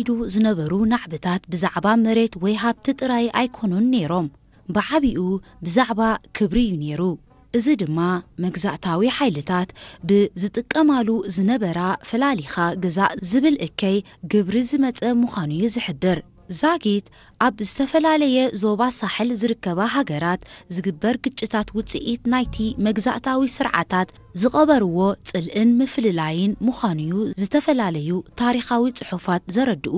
ኢዱ ዝነበሩ ናዕብታት ብዛዕባ መሬት ወይ ሃብቲ ጥራይ ኣይኮኑን ነይሮም። ብዓቢኡ ብዛዕባ ክብሪ እዩ ነይሩ። እዚ ድማ መግዛእታዊ ሓይልታት ብዝጥቀማሉ ዝነበራ ፈላሊኻ ግዛእ ዝብል እከይ ግብሪ ዝመጸ ምዃኑ እዩ ዝሕብር። ዛጊት ኣብ ዝተፈላለየ ዞባ ሳሕል ዝርከባ ሃገራት ዝግበር ግጭታት ውጽኢት ናይቲ መግዛእታዊ ስርዓታት ዝቐበርዎ ጽልእን ምፍልላይን ምዃኑ እዩ ዝተፈላለዩ ታሪኻዊ ጽሑፋት ዘረድኡ።